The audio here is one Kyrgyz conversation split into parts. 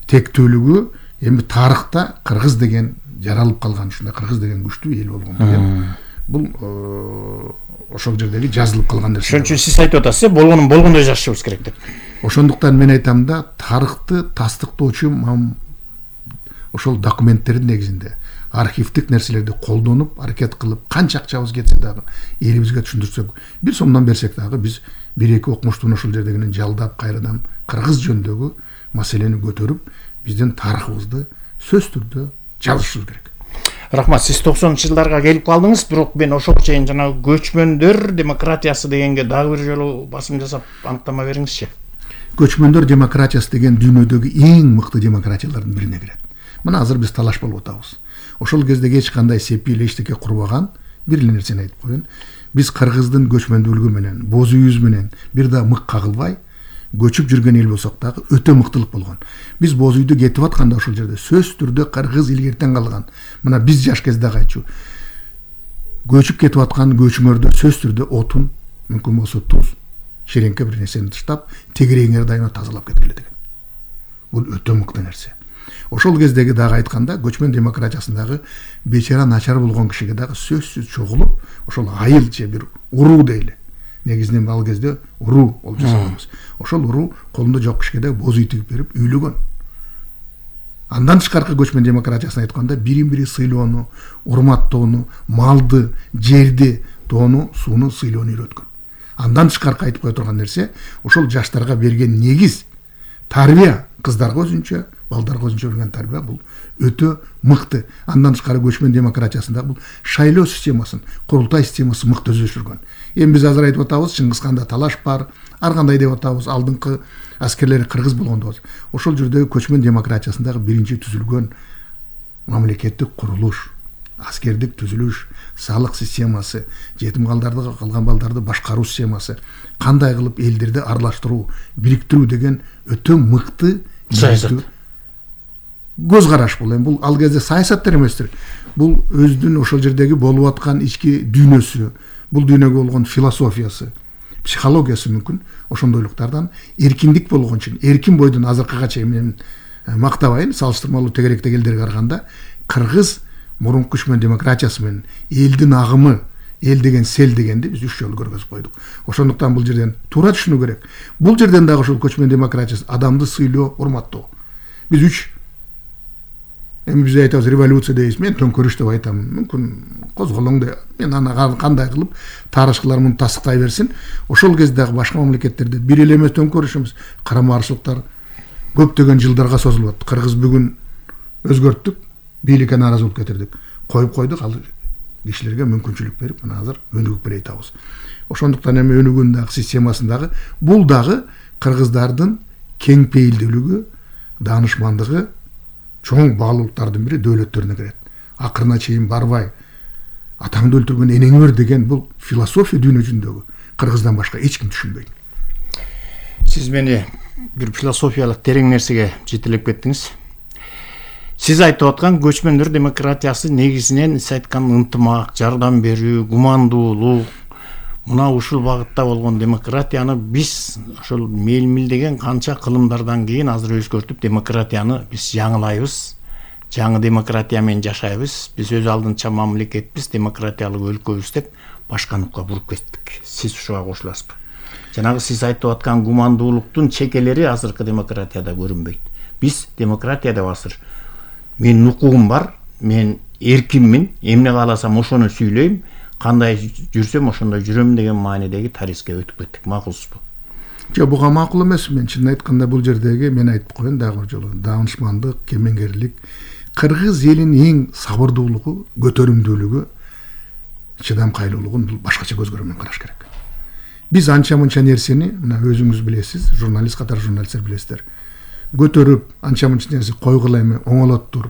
тектүүлүгү эми тарыхта кыргыз деген жаралып калган, ушундай кыргыз деген күчтүү эл болгон деген бул ошол жердеги жазылып калган нерсе. Ошон үчүн сиз айтып атасыз, болгонун болгондой жашашыбыз керек деп. Ошондуктан мен айтам да, тарыхты тастыктоочу ошол документтердин негизинде архивдик нерселерди колдонуп, аракет кылып, канча акчабыз кетсе дагы элибизге түшүндүрсөк, 1 сомдон берсек дагы биз 1-2 окумуштууну ошол жердегинен жалдап кайрадан кыргыз жөнүндөгү маселени көтөрүп, биздин тарыхыбызды сөзсүз түрдө жазышыбыз керек. Рахмат, сиз 90-жылдарга келип калдыңыз, бирок мен ошого чейин жана көчмөндөр демократиясы дегенге дагы бир жолу басым жасап аныктама бериңизчи. Көчмөндөр демократиясы деген дүйнөдөгү эң мыкты демократиялардын бирине кирет. Мына азыр биз талаш болуп атабыз. Ошол кезде эч кандай сепил эчтеке курбаган бир эле нерсени айтып коеюн. Биз кыргыздын көчмөндүүлүгү менен, боз үйүбүз менен бир да мык кагылбай көчүп жүргөн эл болсок дагы өтө мыктылык болгон. Биз боз үйдө кетип атканда ошол жерде сөзсүз түрдө кыргыз илгертен калган. Мына биз жаш кездеги айтчу. Көчүп кетип аткан көчмөрдө сөзсүз түрдө отун, мүмкүн болсо туз, шереңке бир нерсени таштап, тегереңер дайыма тазалап кеткиле деген. Бул өтө мыкты нерсе. Ошол кездеги дагы айтканда, көчмөн демократиясындагы бечара начар болгон кишиге дагы сөзсүз чогулуп, ошол айыл же бир уруу дейли. Негизинен ал кезде уруу болуп жасаганбыз. Ошол уруу колунда жок кишиге да боз үй тигип берип үйлөгөн. Андан тышкаркы көчмөн демократиясын айтканда, бирин-бири сыйлоону, урматтоону, малды, жерди, тоону, сууну сыйлоону үйрөткөн. Андан тышкаркы айтып кое турган нерсе, ошол жаштарга берген негиз тарбия, кыздарга өзүнчө, балдарга өзүнчө берген тарбия бул өтө мыкты. Андан тышкары көчмөн демократиясында бул шайлоо системасын, курултай системасы мыкты өздөштүргөн. Эми биз азыр айтып атабыз, Чыңгызканда талаш бар, ар кандай деп атабыз, алдыңкы аскерлери кыргыз болгондо. Ошол жердеги көчмөн демократиясындагы биринчи түзүлгөн мамлекеттик курулуш, аскердик түзүлүш, салык системасы, жетим калдарды калган балдарды башкаруу системасы, кандай кылып элдерди аралаштыруу, бириктирүү деген өтө мыкты саясат. Көз караш бул. Бул ал кезде саясаттар эместир. Бул өздүн ошол жердеги болуп аткан ички дүйнөсү, бул дүйнөгө болгон философиясы, психологиясы мүмкүн ошондойлуктардан эркиндик болгон үчүн, эркин бойдон азыркыга чейин мен мактабайын, салыштырмалуу тегеректеги элдерге караганда кыргыз мурунку көчмөн демократиясы менен элдин агымы, эл деген сел дегенди биз 3 жолу көргөзүп койдук. Ошондуктан бул жерден туура түшүнүү керек. Бул жерден дагы ошол көчмөн демократиясы адамды сыйлоо, урматтоо. Биз 3 эми биз айтабыз революция дейбиз, мен төңкөрүш деп айтам. Мүмкүн козголоң деп, мен аны кандай кылып тарыхчылар муну тастыктай берсин. Ошол кездеги башка мамлекеттерде бир эле эмес төңкөрүшүбүз, карама-каршылыктар көптөгөн жылдарга созулуп атты. Кыргыз бүгүн өзгөрттүк, бийликке нааразы болуп кетирдик. Коюп койдук, ал кишилерге мүмкүнчүлүк берип, мына азыр өнүгүп бере атабыз. Ошондуктан эми өнүгүүнүн дагы системасындагы бул дагы кыргыздардын кең пейилдүүлүгү, даанышмандыгы, чоң баалуулуктардын бири дөөлөттөрүнө кирет. Акырына чейин барбай атаңды өлтүргөн энең өр деген бул философия дүйнө жүзүндөгү кыргыздан башка эч ким түшүнбөйт. Сиз мени бир философиялык терең нерсеге жетелеп кеттиңиз. Сиз айтып аткан көчмөндөр демократиясы негизинен сиз айткан ынтымак, жардам берүү, гумандуулук, мына ушул багытта болгон демократияны биз ошол мелмилдеген канча кылымдардан кийин азыр өзгөртүп демократияны биз жаңылайбыз. Жаңы демократия менен жашайбыз. Биз өз алдынча мамлекетпиз, демократиялык өлкөбүз деп башканыкка буруп кеттик. Сиз ушуга кошуласызбы? Жанагы сиз айтып аткан гумандуулуктун чекелери азыркы демократияда көрүнбөйт. Биз демократияда азыр менин укугум бар, мен эркинмин, эмне кааласам ошону сүйлөйм, кандай жүрсөм ошондой жүрөм деген маанидеги тарихке өтүп кеттик. Макулсузбу? Жок, буга макул эмес. Мен чынын айтканда бул жердеги мен айтып коеюн дагы бир жолу, даанышмандык, кемеңгерлик, кыргыз элинин эң сабырдуулугу, көтөрүмдүүлүгү, чыдамкайлуулугун бул башкача көз карандан караш керек. Биз анча-мынча нерсени, мына өзүңүз билесиз, журналист катары журналисттер билесиздер, көтөрүп, анча-мынча нерсе койгула эми оңолоттур,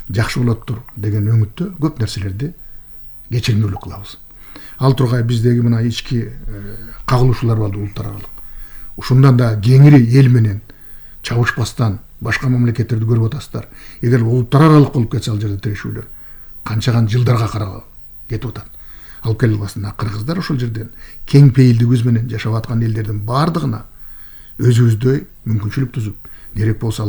жакшы болоттур деген өңүттө көп нерселерди кечирмелүү кылабыз. Ал тургай биздеги мына ички кагылышуулар бар улуттар аралык. Ушундан да кеңири эл менен чабышпастан башка мамлекеттерди көрүп атасыздар. Эгер улуттар аралык болуп кетсе ал жерде тирешүүлөр канчаган жылдарга карап кетип атат. Алып келип басында кыргыздар ошол жерден кең пейилдигибиз менен жашап аткан элдердин бардыгына өзүбүздөй мүмкүнчүлүк түзүп, керек болсо